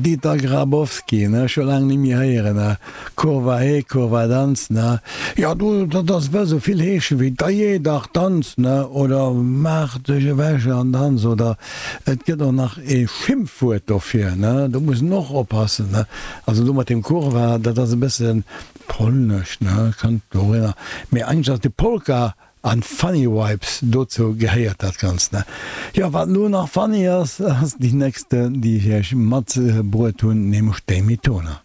Dieter Grabowski, ne, scho laang ni méi héieren, ne, Kurwa he, Kurwa danz, ne, jo do, dat ass wëll sou vill heeschen wéi dajee dach danz, ne, oder maach dech ewech an danz, oder et gëtt och nach ee Schimpfwuert dofir, ne, do muss en och oppassen, ne, also do mat deem Kurwa, dat ass e bësse polnesch, ne, kënnt dohinner, mee eigentlech ass de Polka An funny vibes, dozou gehéiert dat Ganzt, ne? Jo, wat elo nach funny ass, ass déi nächste, déi ech iech matbruet hunn, nämlech d'Amy Toner.